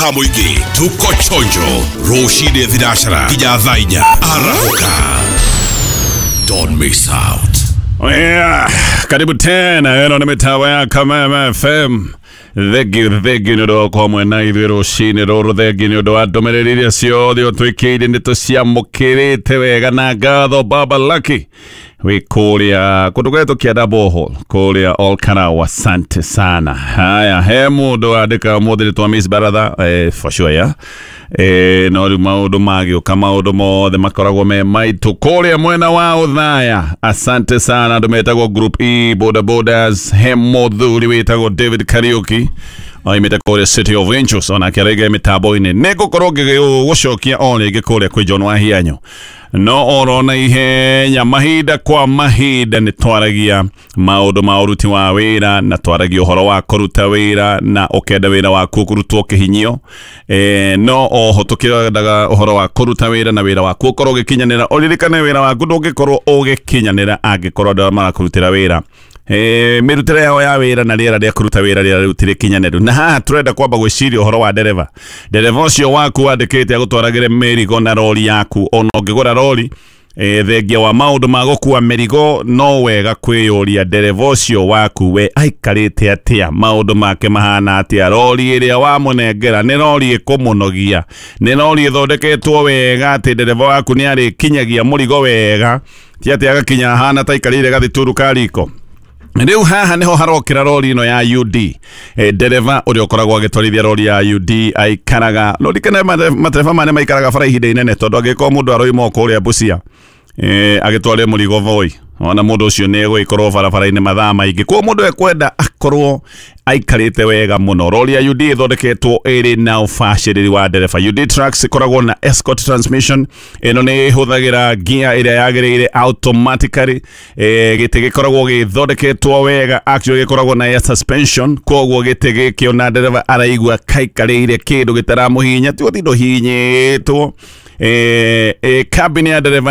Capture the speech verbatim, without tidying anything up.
Ka mũingĩ tuko chonjo rũcinĩ thinacara nginya thaa inya arahũka. Don't miss out. Yeah, karibu tena, ĩno nĩ mĩtambo ya Kameme F M. Thengiũ, thengiũ nĩ ũndũ wa gũkorwo mwena ithuĩ rũcinĩ rũrũ. Thengiũ nĩ ũndũ wa ndũmĩrĩri iria ciothe ũtwĩkĩire, nĩ tũciamũkĩrĩte wega na ngatho. Baba Lucky wĩ kũrĩa kũndũ gwetwo Kĩanda Borehole kũrĩa Olkarau, asante sana. Haya, he mũndũ wandĩka ũmũthĩ nĩ twa miss baratha, eh, for sure, yeah. eh, no rĩu maũndũ magĩũka, maũndũ mothe makoragwo me maitũ kũrĩa mwena wa Ũthaya. Asante sana andũ metagwo Group E boda bodas. He mũthuri wĩtagwo David Kariuki oimĩte kũrĩa City of Angels, onake araiga mĩtambo-inĩ. Nĩ ngũkorwo ngĩgũcokia o rĩngĩ kũrĩa kwĩ John Wahianyo, no oro na ihenya, mahinda kwa mahinda nĩ twaragia maũndũ ma ũruti wa wĩra, na twaragia ũhoro wa kũruta wĩra na ũkenda wĩra waku kũrutwo kĩhinyio, e, no oho tũkĩendaga ũhoro wa kũruta wĩra na wĩra waku ũkorwo ũgĩkinyanĩra. Ũririkane, wĩra waku ndũngĩkorwo ũgĩkinyanĩra angĩkorwo andũ arĩa marakũrutĩra wĩra, e, mĩrutĩre yao ya wĩra na rĩera rĩa kũruta wĩra rĩera rĩu ti rĩkinyanĩru. Na haha tũrenda kwamba gwĩciria ũhoro wa ndereba, ndereba ũcio waku wandĩkĩte agũtwaragĩre mĩrigo na rori yaku. Ona ũngĩgũra rori, e, thengia wa maũndũ ma gũkua mĩrigo, no wega kwĩyũria ndereba ũcio waku we aikarĩte atĩa, maũndũ make mahana atĩa, rori ĩrĩa wamũnengera nĩ rori ĩkũmũnogia, nĩ rori ĩthondeketwo wega atĩ ndereba waku nĩ arĩkinyagia mũrigo wega, ti atĩ agakinya ahana ta aikarĩire gathituru ka riko. Rĩu haha nĩho harokĩra rori ĩno ya U D. e, ndereba ũrĩa ũkoragwo agĩtwarithia rori ya U D aikaraga rorikane, matereba maya nĩ maikaraga bara ihinda inene, tondũ angĩkorwo mũndũ aroima o kũrĩa Busia, e, agĩtware mũrigo Voi, ona mũndũ ũcio nĩ egũgĩkorwo barabara-inĩ mathaa maingĩ, koguo mũndũ ekwenda akorwo aikarĩte wega mũno. Rori ya U D ĩthondeketwo ĩrĩ na ũbacĩrĩri wa ndereba. U D Trucks ĩkoragwo na Escort transmission, ĩno nĩ ĩhũthagĩra gear ĩrĩa yagĩrĩire automatically. e, gĩtĩ gĩkoragwo gĩthondeketwo wega, actually gĩkoragwo na air suspension, koguo gĩtĩ gĩkĩ ona ndereba araigua kaikarĩire kĩndũ gĩtaramũhihinya, ti gũtinda ũhihinyĩtwo. e, e, cabin ya ndereba.